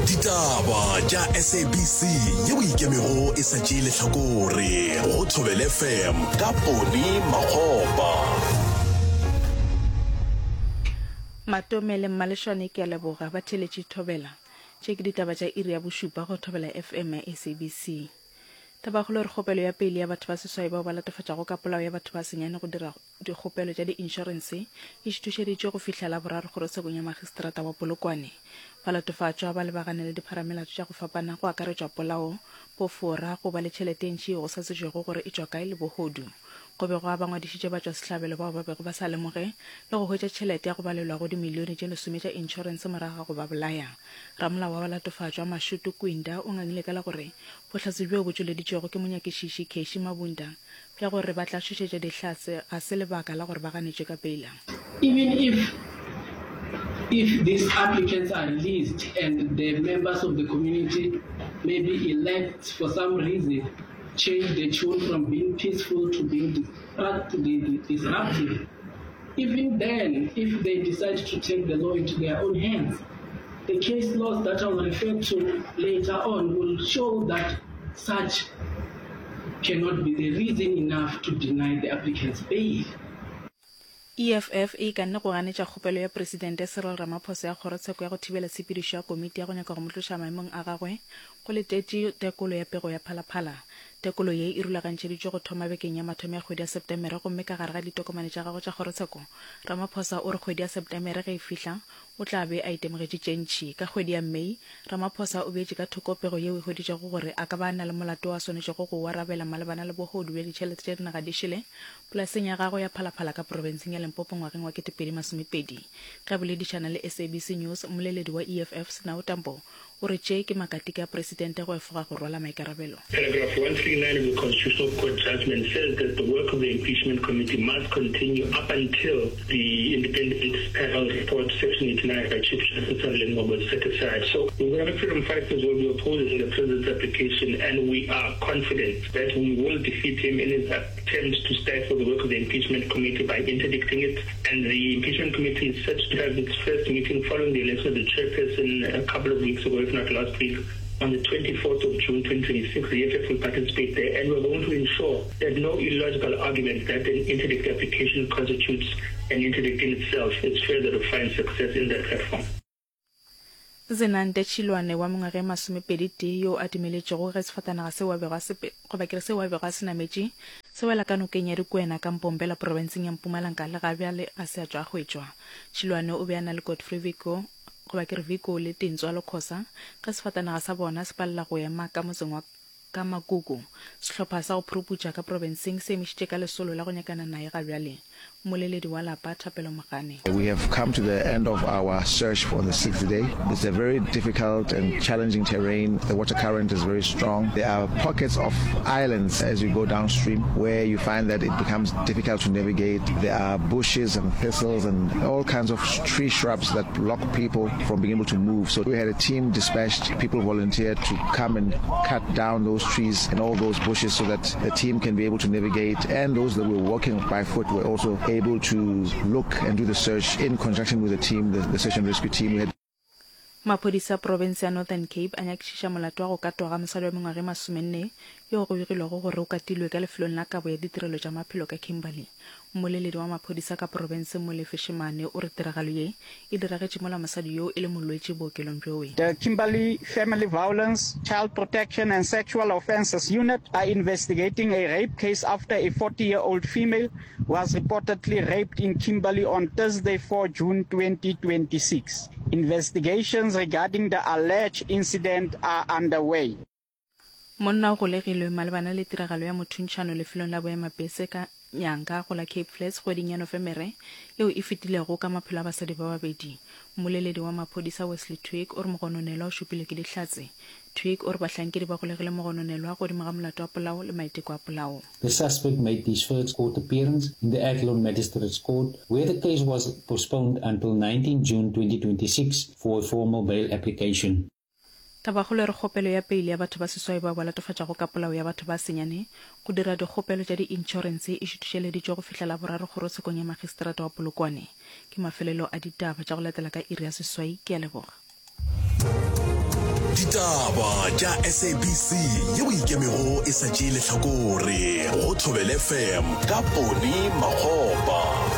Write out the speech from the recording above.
Ditaba tša SABC yeo e ikemego e sa tšee lehlakore go Thobela FM ka Poni Makgopa. Matome le Mmalešwane ke a leboga ba theletše Thobela. Tše ke ditaba tša iri ya bošupa go Thobela FM ya SABC. Tabakgolo e re kgopelo ya pele ya batho ba seswai bao ba latofatšago ka polao ya batho ba senyane go dira dikgopelo tša diinšorense e šuthušeditšwe go fihla Laboraro kgorotshekong ya Magistrata wa Polokwane. Balatofatšwa ba lebagane le dipharamelato tša go fapana go akaretšwa polao, bofora, go ba le tšhelete e ntši yeo go sa tsebjego gore e tšwa kae le bohodu. Go be gwa ba ngwadišitše batšwasehlabelo bao ba bego ba sa lemoge le go hwetša tšhelete ya go balelwa go dimilione tše lesome tša inšorense morago ga go ba bolaya. Ramolao wa balatofatšwa, Mashudu Kwinda o ngangile ka la gore bohlatse bjoo bo tšweleditšwego ke monyakišiši Keshi Mabunda bja gore ba tla tšhošetša Dihlatse ga se lebaka la gore ba ganetšwe ka peila. Even if if these applicants are released and the members of the community maybe elect for some reason change the tune from being peaceful to being disruptive, even then if they decide to take the law into their own hands, the case laws that I will refer to later on will show that such cannot be the reason enough to deny the applicants bail. EFF e ikanne go ganetša kgopelo ya Presidente Cyril Ramaphosa ya kgorotsheko ya go thibela tshepedišo ya komiti ya go nyaka go mo tloša maemong a gagwe go letetše tekolo ya pego ya Phalaphala. Tekolo ye e rulagantšheditšwe go thoma bekeng ya mathomo ya kgwedi ya Septemere gomme ka gare ga ditokomane tša gagwe tša kgorotsheko, Ramaphosa o re kgwedi ya Septemere ge e fihla O tla be a itemogetše tše ntši. Ka kgwedi ya May, Ramaphosa o beetše ka thoko pego yeo e hweditšego gore a ka ba a na le molato wo a swanetšego go o arabela malebana le bohodu bja ditšhelete tša dinaga di šele polaseng ya gagwe ya Phalaphala ka profenseng ya Limpopo ngwageng wa 2020. Ge a boledišana le SABC News, mmoleledi wa EFF, Sinawo Tambo, O re tše ke makatika a presidente go efoga go rwala maikarabelo. Paragraph 139 of the Constitutional Court judgment says that the work of the impeachment committee must continue up until the independent panel report section 89 by Chief Justice Sandile Ngcobo is set aside. So the Economic Freedom Fighters will be opposing the president's application and we are confident that we will defeat him in his attempt to stifle the work of the impeachment committee by interdicting it. And the impeachment committee is set to have its first meeting following the election of the chairperson a couple of weeks ago, if not last week. On the 24th of June 2026, the EFF will participate there, and we're going to ensure that no illogical argument that an interdict application constitutes an interdict in itself is further to find success in that platform. Zenande Tšhilwane wa mengwaga e masomepedi-tee yo a dumeletšego ge sefatanaga seo a bego a se goba ke re seo a bego a se nametše se wela ka nokeng ya Dikwena ka Mpombela profenseng ya Mpumalanga le ga bjale ga se a tšwa a hwetšwa. Tšhilwane o be a na le Godfrey Vico goba ke re Vico le Tintswalo Khosa ge sefatanaga sa bona se palela go ema ka motseng wa Ka Makuku, sehlopha sa go phuruputša ka profenseng se emišitše ka lesolo la go nyakana naye ga bjale. Mmoleledi wa lapa, Thapelo Mogane. We have come to the end of our search for the sixth day. It's a very difficult and challenging terrain. The water current is very strong. There are pockets of islands as you go downstream where you find that it becomes difficult to navigate. There are bushes and thistles and all kinds of tree shrubs that block people from being able to move. So we had a team dispatched, people volunteered to come and cut down those trees and all those bushes so that the team can be able to navigate and those that were walking by foot were also able to look and do the search in conjunction with the team, the, the search and rescue team. We had Maphodisa a profense ya Northern Cape a nyakišiša molato wa go katwa ga mosadi wa mengwaga e masomenne yo go begilwego gore o katilwe ka lefelong la kabo ya ditirelo tša maphelo ka Kimberley. Mmoleledi wa maphodisa ka profenseng Molefe Shemane o re tiragalo ye e diragetše mola mosadi yoo e le molwetši bookelong bjoe. The Kimberley Family Violence, Child Protection and Sexual Offences Unit are investigating a rape case after a 40-year-old female was reportedly raped in Kimberley on Thursday, 4 June 2026. Investigations regarding the alleged incident are underway. Monna o golegilwe malebana le tiragalo ya mothuntšhano lefelong la boemapese ka Nyanga go la Cape Flats kgweding ya Nofemere yeo e fetilego ka maphelo a basadi ba babedi. Mmoleledi wa maphodisa Wesley Twigg o re mogononelwa o šupilwe ke dihlatse. Twigg o re bahlankedi ba golegile mogononelwa godimo ga molato wa polao le maiteko a polao. The suspect made his first court appearance in the Athlone Magistrates Court where the case was postponed until 19 June 2026 for a formal bail application. Tabakgolo e re kgopelo ya peile ya batho ba seswai bao ba latofatšago ka polao ya batho ba senyane go dira dikgopelo tša di-inšorense e šuthišeleditšwe go fihla Laboraro kgorotshekong ya Magistrata wa Polokwane. Ke mafelelo a ditaba tša go latela ka iri ya seswai. Ke a leboga. Ditaba tša SABC yeo e ikemego e sa tšee lehlakore go Thobela FM ka Poni Makgopa.